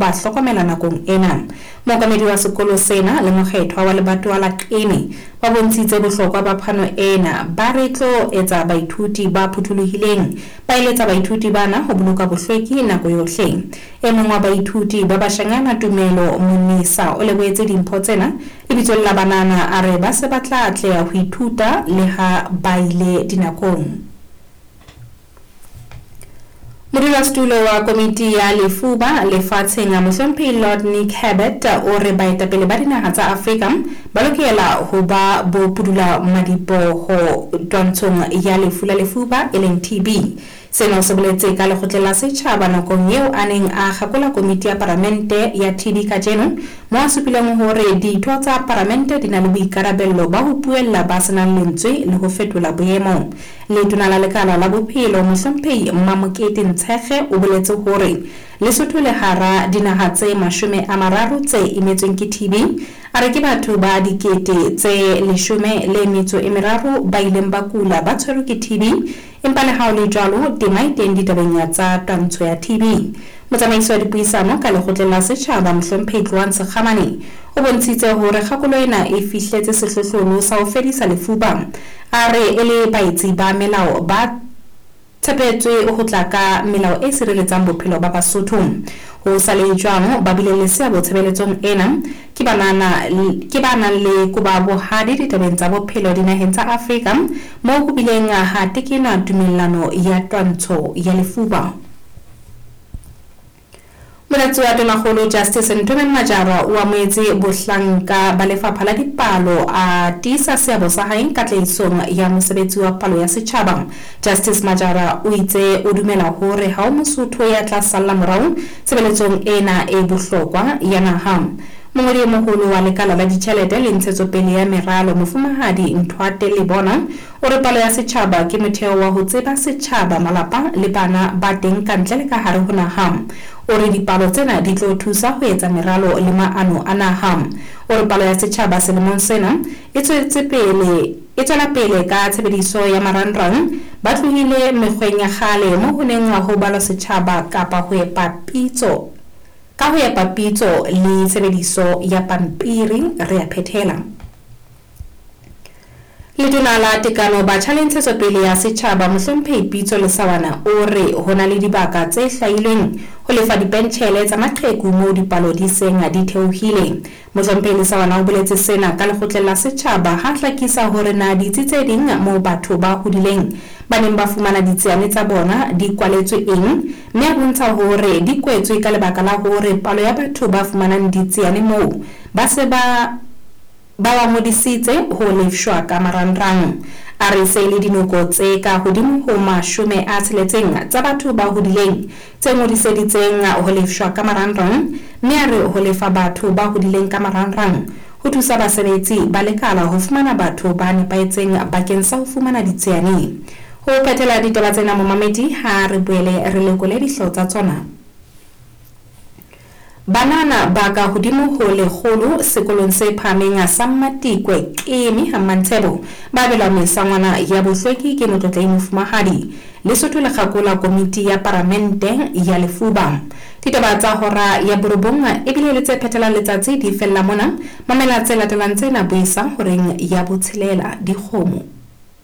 Ba hlokomela nakong ena. Mookamedi wa sekolo sena le mokgethwa wa lebatowa la Qini ba bontshitse bohlokwa ba phano ena, ba re tlo etsa baithuti ba phutholohileng. Ba eletsa baithuti bana ho boloka bohlweki nako yohle. E mong wa baithuti ba bashanyana Tumelo Monisa o lebohetse dimpho tsena lebitsong la banana, a re ba se ba tla atleha ho ithuta le ha ba ile dinakong. Modulasetulo wa Komiti ya Lefuba Lefatsheng, Mohlomphehi Lord Nick Herbert, o re baetapele ba dinaha tsa Afrika ba lokela ho ba bo pudula-madiboho twantshong ya lefu la lefuba e leng TB. Sena o se boletse ka Lekgotleng la Setjhaba nakong eo a neng a kgakola Komiti ya Paramente ya TB kajeno, moo a supileng hore ditho tsa Paramente di na le boikarabello ba ho buella ba se nang lentswe le ho fetola boemo. Letona la Lekala la Bophelo, Mohlomphehi Mmamokete Ntshekge o boletse hore Lesotho le hara dinaha tse 30 tse imetsweng ke TB. A re ke batho ba 13,000 ba ileng ba kula ba tshwerwe ke TB, empa le ha ho le jwalo tema e teng ditabeng tsa twantsho ya TB. Motsamaisi wa dipuisano ka Lekgotleng la Setjhaba, Mohlomphehi Tloang Sekgamane, o bontshitse hore kgakolo ena e fihletse sehlohlolo sa ho fedisa lefuba. A re e le baetsi ba melao ba tshepetswe ho tla ka melao e sireletsang bophelo ba Basotho. Ho sa le jwalo, ba bileng le seabo tshebeletsong ena ke banana ke ba nang le koba bohadi ditabeng tsa bophelo dinaheng tsa Afrika moo ho bileng ha tekenwa tumellano ya twantsho ya lefuba. Molatsi wa Tonakgolo Justice Nthomeng Majara o amohetse bohlanka ba lefapha la dipalo a tiisa seabo sa hae katlehisong ya mosebetsi wa palo ya setjhaba. Justice Majara o itse o dumela hore ha ho Mosotho ya tla salla morao tshebeletsong ena e bohlokwa ya naha. Mongodi e moholo wa lekala la ditjhelete le ntshetsopele ya meralo Mofumahadi Nthwate Lebona O re palo ya setjhaba ke motheo wa ho tseba setjhaba, malapa le bana ba teng kantle le ka hare ho naha. O re dipalo tsena di tlo thusa ho etsa meralo le maano a naha. O re palo ya setjhaba selemong sena e tswetse pele e tswela pele ka tshebediso ya marangrang. Ba tlohile mekgweng ya kgale mo ho neng ho balwa setjhaba kapa ho epa pitso ka ho epa pitso le tshebediso ya pampiri. Re a phethela. Letona la Tekano, Batjha le Ntshetsopele ya Setjhaba, Mohlomphehi Pitso Lesawana o re ho na le dibaka tse hlwailweng ho lefa dipentjhele tsa maqheku moo dipalo di seng di theohile. Mohlomphehi Lesawana o boletse sena ka lekgotleng la setjhaba ha hlakisa hore na ditsi tse ding moo batho ba hodileng ba neng ba fumana ditsiane tsa bona di kwaletswe eng mme a bontsha hore di kwetswe ka lebaka la hore palo ya batho ba fumanang ditsiane moo ba se ba Ba ba ngodisitse ho lefshwa ka marangrang. A re se e le dinoko tse ka hodimo ho 60 tsa batho ba hodileng tse ngodiseditseng ho lefshwa ka marangrang mme a re ho lefa batho ba hodileng ka marangrang ho thusa basebetsi ba lekala ho fumana batho ba nepahetseng bakeng sa ho fumana ditsiane. Ho phethela ditaba tsena momamedi ha re boele re lekole dihlooho tsa tsona. Banana ba ka hodimo ho 100 sekolong se phahameng sa Mmatikwe, Qeme, ha Mmantshebo, ba abelwa mesangwana ya bohlweki ke Motlotlehi Mofumahadi Lesotho le kgakola komiti ya Paramente ya Lefuba. Ditaba tsa hora ya borobong ebile le tse phethelang letsatsi di fella mona. Mamela tse latelang tsena buisa horeng ya botshelela. Dikgomo.